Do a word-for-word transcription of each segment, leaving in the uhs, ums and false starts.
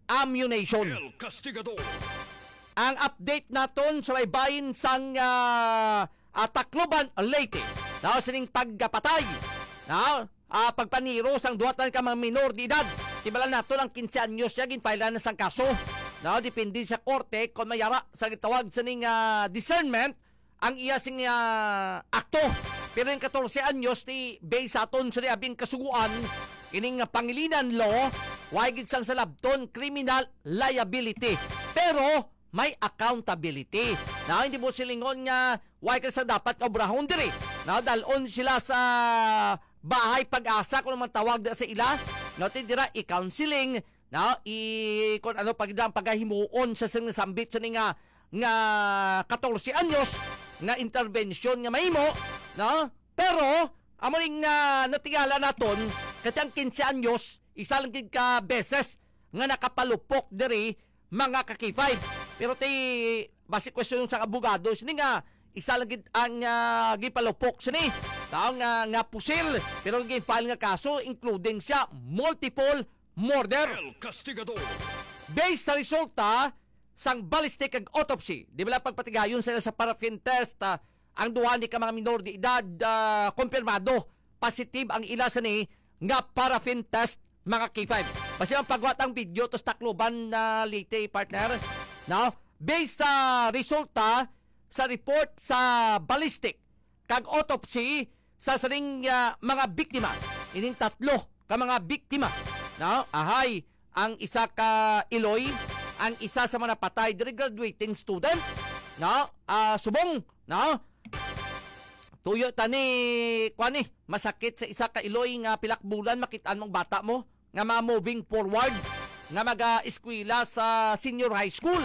ammunition. El Castigador. Ang update naton sa may bahin sang, ah, ah, Tacloban, Leyte. Now, sining pagkapatay. Now, ah, pagpaniro sang duha tan ka mga minor de edad. Tibalan naton ang quince anyos niya, ginfile na sang kaso. Now, depende sa korte kung mayara sa gitawag sining, ah, discernment ang iya sing, ah, akto. Pero yung katorse anyos ti based sa aton sa abing kasuguan, ining, ah, pangilinan law, way gid sang salabton criminal liability. Pero may accountability. Na hindi mo silingon nga way ka sa dapat obrahon diri. Na dalon sila sa bahay pag-asa kung naman tawag na sa ila. No, ti dira i-counseling, no, i kung ano pag ang pagahimuon sa sing nasambit sa nga nga katorse anyos nga intervention nga mahimo, no? Pero amo ning, ah, natingala naton, kay ang quince anyos, isa lang gid ka beses nga nakapalupok diri, mga ka-K five. Pero ti basi question sa abogado sini nga isa lang gid ang, ah, gipalupok sini. Tao nga, nga pusil, pero gin-file nga kaso including siya multiple murder. El Castigador. Based sa resulta sang ballistic kag autopsy, di ba lang pagpatigayon sila sa paraffin test, ah, ang duha ni ka mga minor de edad, ah, kumpirmado positive ang ila sini nga paraffin test, mga K five. Basi ang pagwat ang video to sa Tacloban na Leyte, partner. No? Based sa resulta sa report sa ballistic kag autopsy sa sining, ah, mga biktima. Ining tatlo ka mga biktima, no? Ahay, ang isa ka iloy, ang isa sa mga napatay diri graduating student, no? Ah, subong, no? Tuyo ta ni, kuwan ni, masakit sa isa ka iloy nga pilak bulan, makit-an mong bata mo nga mga moving forward nga maga-eskwela sa senior high school,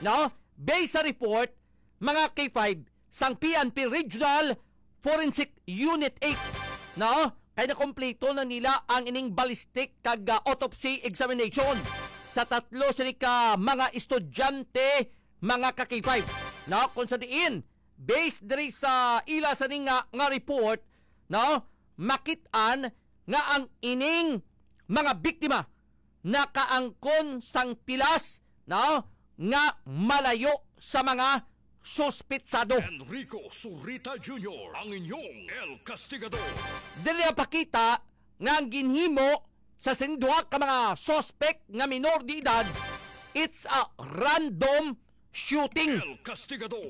no? Based sa report, mga K five, sang P N P Regional Forensic Unit eight, no? Kay nakompleto na nila ang ining ballistic kag, ah, autopsy examination sa tatlo sini ka mga estudyante, mga ka-K five, no? Kung sa diin, based diri sa ila sa ninga nga report, no? Makit-an nga ang ining mga biktima nakaangkon sang pilas, no, nga malayo sa mga suspitsado. Enrico Zurita Junior, ang inyong El Castigador. Diri napakita nga ang ginhimo sa sing duha ka mga suspect nga minor de edad, it's a random shooting. El Castigador.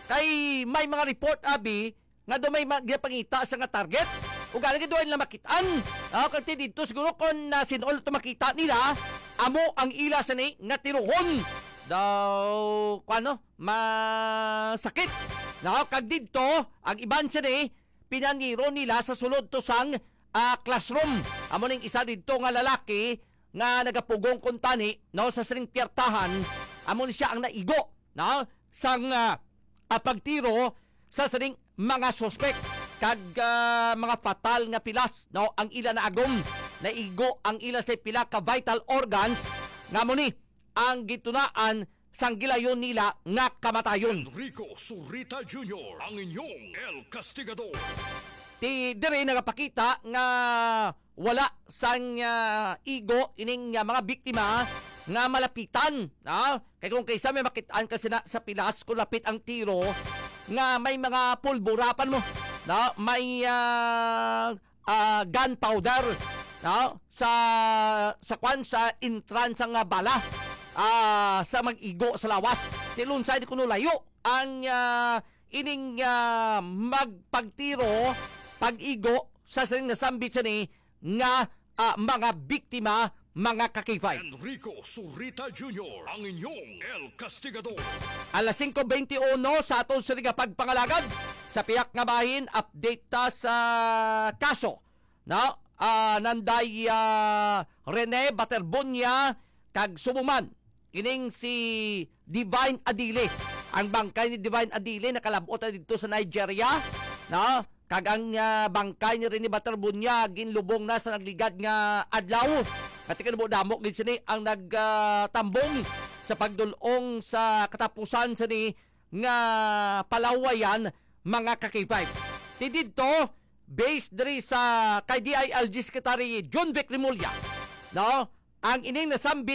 Kay may mga report, abi, nga daw may ma-, ginapangita sa nga target. Ug gani daw nila makit-an. Ah, kay dito siguro kung, ah, sin-o to makita nila, amo ang ila sini nga tiruhon. Daw, kuano, masakit. No, kag dito, ang iban sini, pinaniro nila sa sulod to sang, ah, classroom. Amo ning isa dito nga lalaki nga nagapugong kuntani, no, sa sining piyertahan, amo ni siya ang naigo, no, sang, ah, ah, pagtiro sa sining mga suspek kag, ah, mga fatal nga pilas, no, ang ila naagom. Naigo ang ila sa pila ka vital organs, nga amo ni ang gitunaan sang gilayon nila nga kamatayon. Enrico Zurita Junior, ang inyong El Castigador. Ti diri nagapakita nga wala sang, ah, igo ining, ah, mga biktima nga malapitan, ah. Kay kung kaysa may makit-an ka sina sa pilas kung lapit ang tiro nga may mga pulbura pa mo, no? May, ah, ah, gunpowder, no? Sa, sa kwan, sa entrance nga bala, ah, sa mag-igo sa lawas. Ti lunsay di kuno layo ang, ah, ining, ah, magpagtiro, pag-igo sa sining nasambit sini nga, ah, mga biktima, mga ka-K five. Enrico Zurita Junior, ang inyong El Castigador. Alas singko beintiuno sa aton sini nga pagpangalagad sa pihak nga bahin, update ta sa kaso, no? Ah, Nanday, ah, Rene Baterbonia kag subo man ining si Divine Adile. Ang bangkay ni Divine Adile nakalab-ot na didto sa Nigeria, no? Kag ang, ah, bangkay ni Rene Baterbonia ginlubong na sa nagligad nga adlaw. Pati kanamo damo gid sini ang nag, ah, tambong sa pagdul-ong sa katapusan sini nga palawayan, mga ka-K five. Ti didto, based diri sa kay D I L G Secretary John Vic Remulla, no? Ang ining nasambit